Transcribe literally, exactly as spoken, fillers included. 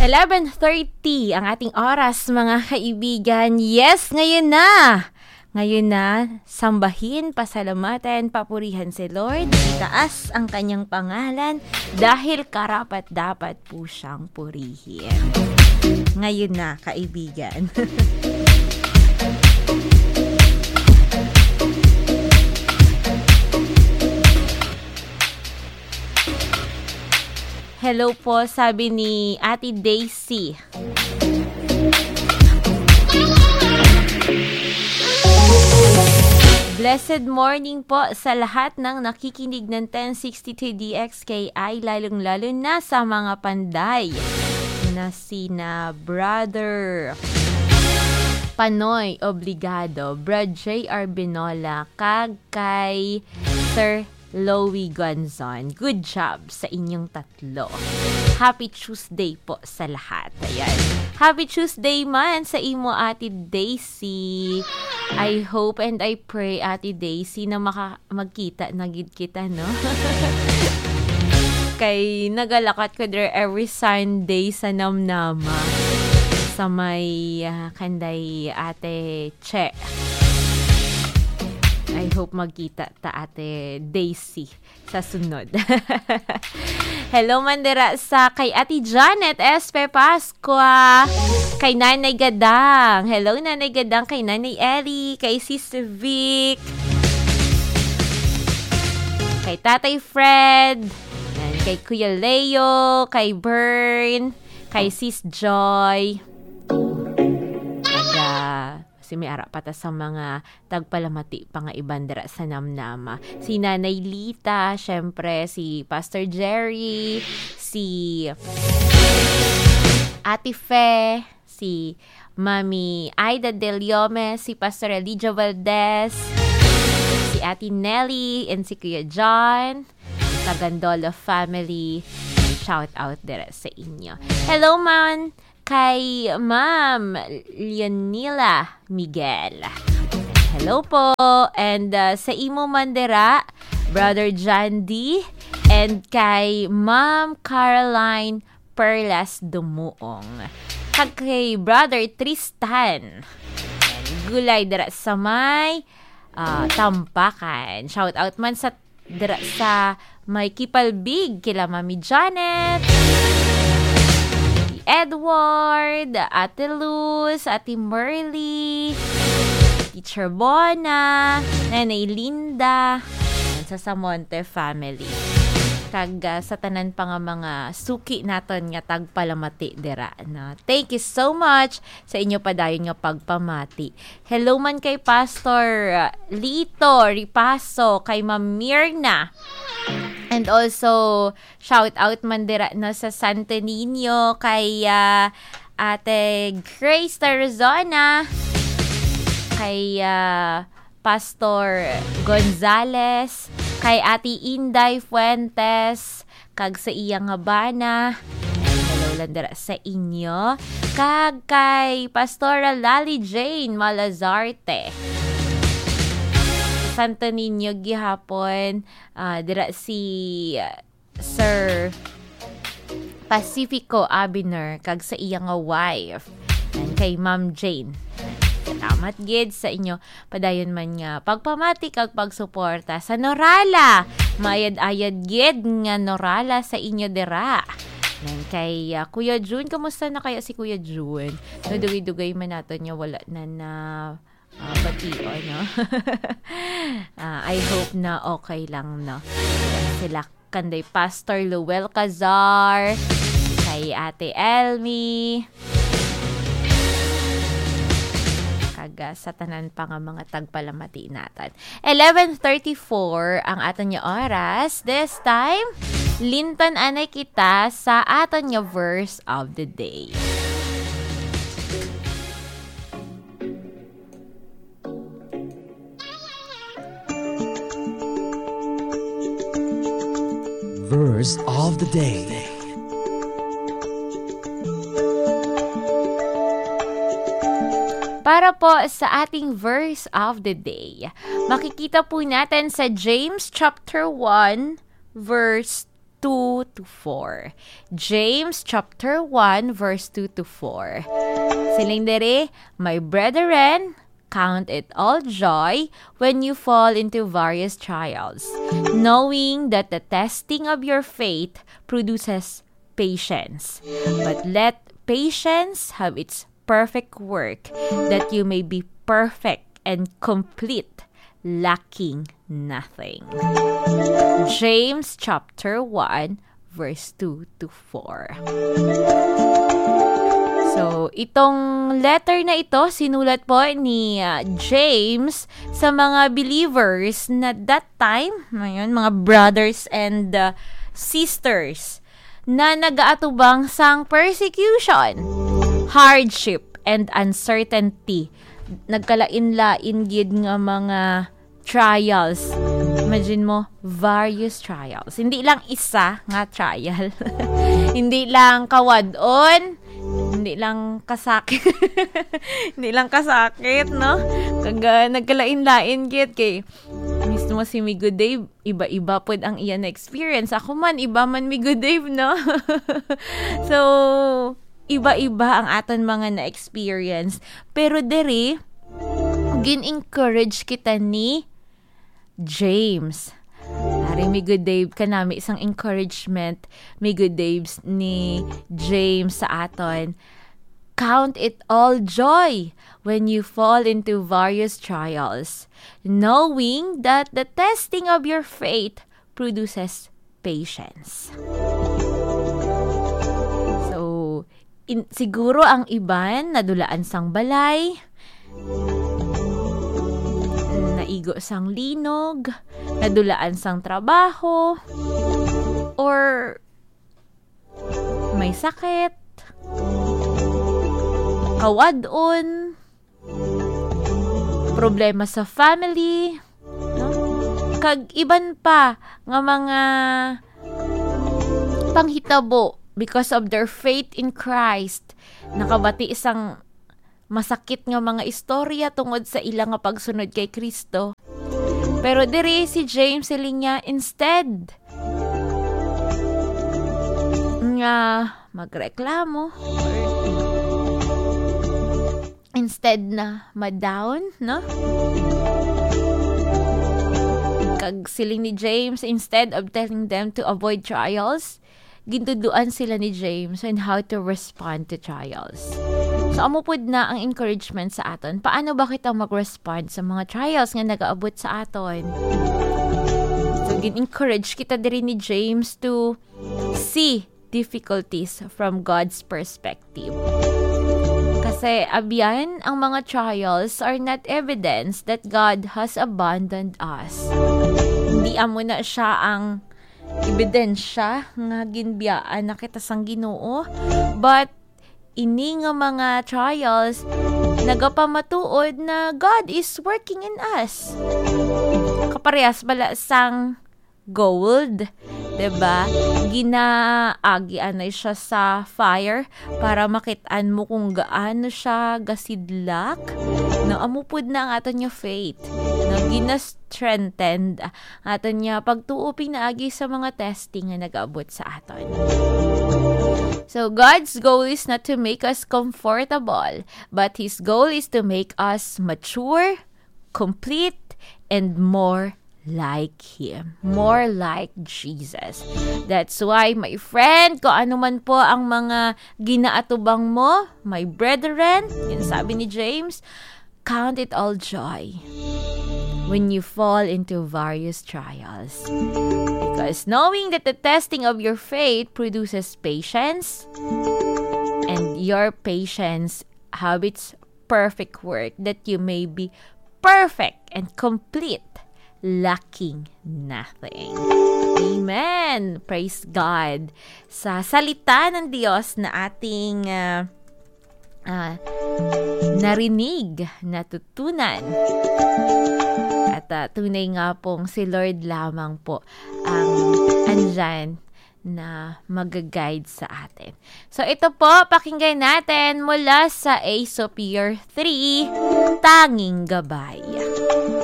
Eleven thirty ang ating oras, mga kaibigan. Yes, ngayon na! Ngayon na, sambahin, pasalamatan, papurihan si Lord. Itaas ang kanyang pangalan dahil karapat-dapat po siyang purihin. Ngayon na, kaibigan. Hello po, sabi ni Ate Daisy. Blessed morning po sa lahat ng nakikinig ng ten sixty-two D X K I, lalong-lalo na sa mga panday na sina Brother Panoy Obligado, Brad J R Binola, kag kay Sir Louie Gonzon. Good job sa inyong tatlo. Happy Tuesday po sa lahat. Ayan. Happy Tuesday man sa imo, Ate Daisy. I hope and I pray, Ate Daisy, na maka-, magkita na gid kita, no? Kay nagalakat ko there every Sunday sa Namnama. Sa may, ah, kanday Ate Che. I hope magkita ta, Ate Daisy, sa sunod. Hello man dira sa kay Ate Janet Espe Pascua, kay Nanay Gadang. Hello, Nanay Gadang, kay Nanay Ellie, kay Sis Vic, kay Tatay Fred, yan, kay Kuya Leo, kay Bern, kay Sis Joy. Kag, ah, si may ara pa ta sa mga tagpalamati pa nga iban dira sa Namnama. Si Nanay Lita, syempre, si Pastor Jerry, si Ate Fe, si Mami Aida Del Yome, si Pastor Elijah Valdez, si Ate Nelly, and si Kuya John, sa Gandolo family. Shout out dira sa inyo. Hello man kay Ma'am Leonila Miguel. Hello po. And, uh, sa imo man dira, Brother John D, and kay Ma'am Caroline Perlas Dumuong. Kag kay Brother Tristan. Gulay dira sa may, ah, Tampakan. Shout out man sa dira sa may Kipalbig, kila Mami Janet, Edward, Ate Luz, Ate Merly, Teacher Bona, Nanay Linda, and sa Samonte family. Kag, ah, sa tanan pa nga mga suki naton nga tagpalamati dira, no? Thank you so much sa inyo padayon nga pagpamati. Hello man kay Pastor, uh, Lito Ripaso, kay Ma'am Mirna. And also, shout out man dira, no, sa Santo Niño, kay, uh, Ate Grace Tarazona, kay, uh, Pastor Gonzales, kay Ate Inday Fuentes, kag sa iya nga bana. Hello lang dira sa inyo. Kag kay Pastora Lali Jane Malazarte. Santo Niño gihapon, ah, dira si, ah, Sir Pacifico Abiner kag sa iya nga wife. And kay Ma'am Jane. Salamat gid sa inyo padayon man nga pagpamati kag pagsuporta sa Norala. Mayad-ayad gid nga Norala sa inyo dira. Nan kay, ah, Kuya Jun, kamusta na kaya si Kuya Jun? Nadugay-dugay man naton nga wala na na, ah, bation, no? Ah, I hope na okay lang, no? Sila kanday Pastor Luel Cazar, kay Ate Elmi, kag, ah, sa tanan pa nga mga tagpalamati naton. Eleven thirty-four ang aton nga oras. This time, limtan anay kita sa aton nga verse of the day. Verse of the day. Para po sa ating verse of the day, makikita po natin sa James chapter one, verse two to four. James chapter one, verse two to four. Siling diri, "My brethren, count it all joy when you fall into various trials, knowing that the testing of your faith produces patience. But let patience have its perfect work, that you may be perfect and complete, lacking nothing." James chapter one, verse two to four. So, itong letter na ito, sinulat po ni, ah, James sa mga believers na that time, ngayon, mga brothers and, ah, sisters na nagaatubang sang persecution, hardship, and uncertainty. Nagkalain-lain gid nga mga trials. Imagine mo, various trials. Hindi lang isa nga trial. Hindi lang kawad-on, hindi lang kasakit. Hindi lang kasakit, no? Kag, ah, nagkalain-lain gid kay mismo si Migo Dave, iba-iba pud ang iya na experience. Ako man, iba man, Migo Dave, no? So, iba-iba ang aton mga na-experience. Pero diri, gin-encourage kita ni James. Ari, Migo Dave, kanami isang encouragement, Migo Dave, ni James sa aton. "Count it all joy when you fall into various trials, knowing that the testing of your faith produces patience." So, in, siguro ang iban nadulaan sang balay, naigo sang linog, nadulaan sang trabaho, or may sakit, kawad-on, problema sa family, no? Kag iban pa nga mga panghitabo because of their faith in Christ. Nakabati sang masakit nga mga istorya tungod sa ila nga pagsunod kay Kristo. Pero diri si James, siling niya, instead nga magreklamo, or instead na ma-down, no? Kag siling ni James, instead of telling them to avoid trials, gintuduan sila ni James on how to respond to trials. So, amo pud na ang encouragement sa aton. Paano ba kita mag-respond sa mga trials nga nagaabot sa aton? So, gin-encourage kita diri ni James to see difficulties from God's perspective. Kasi, abyan, ang mga trials are not evidence that God has abandoned us. Hindi amo na siya ang ebidensya nga ginbiyaan na kita sang Ginoo, but ini nga mga trials nagapamatuod na God is working in us. Kaparehas bala sang gold, diba? Ginaagian na siya sa fire para makit-an mo kung gaano siya gasidlak. No, amo pud na ang aton nga faith. No, gina-strengthened ang aton nga pagtuo pinaagi sa mga testing nga nagaabot sa aton. So, God's goal is not to make us comfortable, but His goal is to make us mature, complete, and more like Him. More like Jesus. That's why, my friend, kung ano man po ang mga ginaatubang mo, my brethren, yun sabi ni James, count it all joy when you fall into various trials. Because knowing that the testing of your faith produces patience, and your patience have its perfect work, that you may be perfect and complete, lacking nothing. Amen. Praise God. Sa salita ng Diyos na ating, ah, ah, narinig, natutunan. At, ah, tunay nga pong si Lord lamang po ang andyan na mag-guide sa atin. So, ito po, pakinggan natin mula sa Aesop Year three, Tanging Gabay.